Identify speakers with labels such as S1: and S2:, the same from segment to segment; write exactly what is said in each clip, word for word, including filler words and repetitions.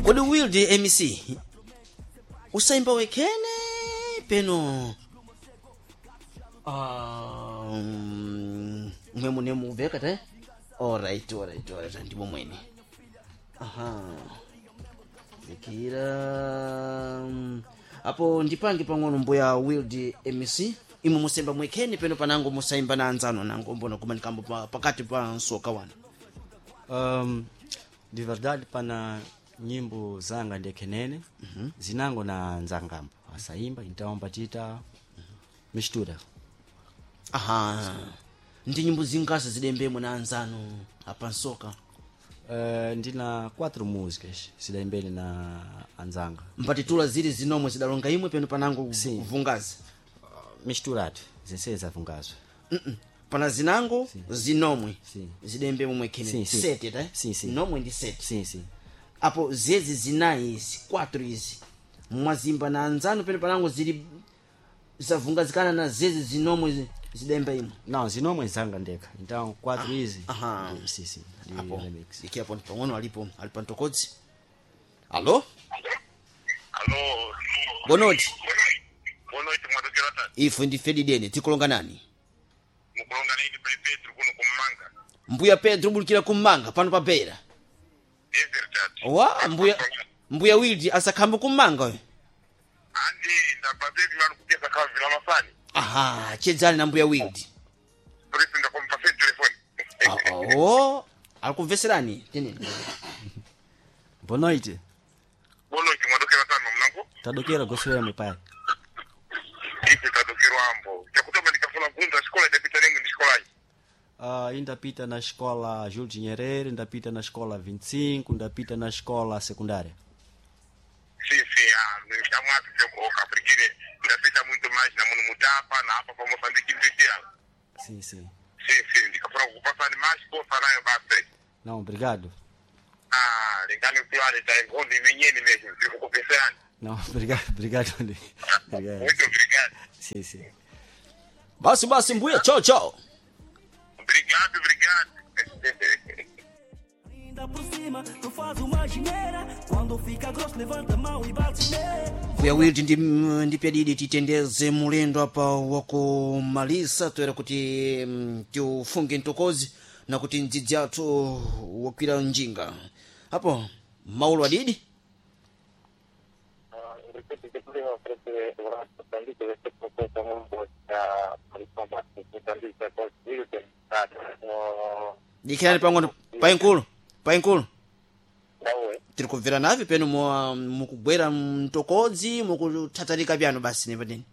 S1: Kodi Wild M C usayimba wekhene peno? Ah, mm, mwe mune muveka te. Alright, alright, alright, ndipo mwene. Aha, zikira mm, apo ndipange pang'ono. Mbuya Wild M C, imwe musemba mwekhene peno panango musayimba na anzano nango mbona kumanikambo pa, pakati pa nsoka wanu?
S2: Um, de verdade, pana nyimbo zanga ndekhenene mm -hmm. zinango na nzangambo asaimba, então patita mistura.
S1: Aha, ndi nyimbo zingasa zidembemo na anzano apa nsoka?
S2: Uh, ndina quatro músicas zidaimbele na anzanga.
S1: Mpatitula zili zinomwe zidalonga imwe peno panango?
S2: Sim.
S1: Vungazi.
S2: Misturado zense zavungazwa.
S1: Mm-mm. Pana zinango zinomwe
S2: Sim.
S1: zidembemo mwekhene?
S2: Sim, sim.
S1: Sete ta?
S2: Sim, sim.
S1: Nomwe ndi sete?
S2: Sim, sim.
S1: Apo zezi zinayi izi, quatro izi, mwazimba na anzano peno panango zili zavungazikana na zezi zinomwe zi- zidemba imwe?
S2: Não, zinomwe zanga ndekha, então quatro izi.
S1: Aha.
S2: Ndi- sim sim ndi
S1: Apo
S2: remix.
S1: iki apo pang'ono alipo ali pa mtokodzi. Alo?
S3: Alo.
S1: Bonoti.
S3: Boa noite, mwadokera tati.
S1: Ife ndife didene, tikulonga nani?
S3: Mukulonga naini pai Pedro kuno kummanga.
S1: Mbuya Pedro, bulikira kummanga pano pa Beira.
S3: É verdade.
S1: Wa mbuya mbuya Wildi asakhamba kummanga we.
S3: Andi ndabva Pedro manu kupeza kava vila masani.
S1: Aha, chedzani na mbuya Wildi.
S3: Por isso ndakompase telefone.
S1: Oo, alikumveserani teneni.
S2: Boa noite.
S3: Boa noite, mwadokera tano mnango.
S2: Tadokera goswemo pai.
S3: Ife tadokerwa ambo. Chakutoma ndikafuna bvunza xikola idapita nemwe ndi xikolayi.
S2: Uh, indapita na escola Júlio de Nyerere, indapita na escola vinte e cinco, indapita na escola secundária.
S3: Sim, sim, ah, chamwati okaprikire ndapita muito mais na muno mutapa na apa pa Moçambique inteira.
S2: Sim, sim.
S3: Sim, sim, ndikafuna kukupasani mais kosa nayo basi.
S2: Não, obrigado.
S3: Ah, lingani kulale ta ngondi imenyeni mesmo, tiri kukupeserani.
S2: Não, obrigado, obrigado. Obrigado.
S3: Muito obrigado.
S2: Sim, sim.
S1: Basi basi mbuya, chao chao.
S3: Obrigado, obrigado.
S4: Ainda por cima, tu faz uma gineira. Quando fica grosso, levanta a mão e bate nele.
S1: Mbuya Wildi, ndi ndipyadidi titendeze mulendo apa wakumalisa toera kuti mm, tiufunge mtokozi na kuti mdzidzi athu wakwira njinga apo maulo adidi. Dikirani pang'ono, painkulu, painkulu, tiri kubvera navi peno mwa- mukugwera mtokodzi mukuthatarika pyano basi nepadeni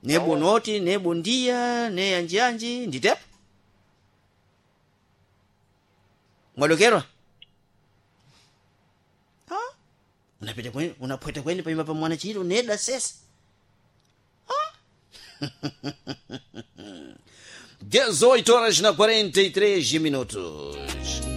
S1: nebo noti nebo ndiya ne yanjiyanji nditepo mwadokerwa. Ha? Unapita kweni, unaphweta kweni panyumba pa mwana chiro neda sesa. dezoito horas na quarenta e três minutos.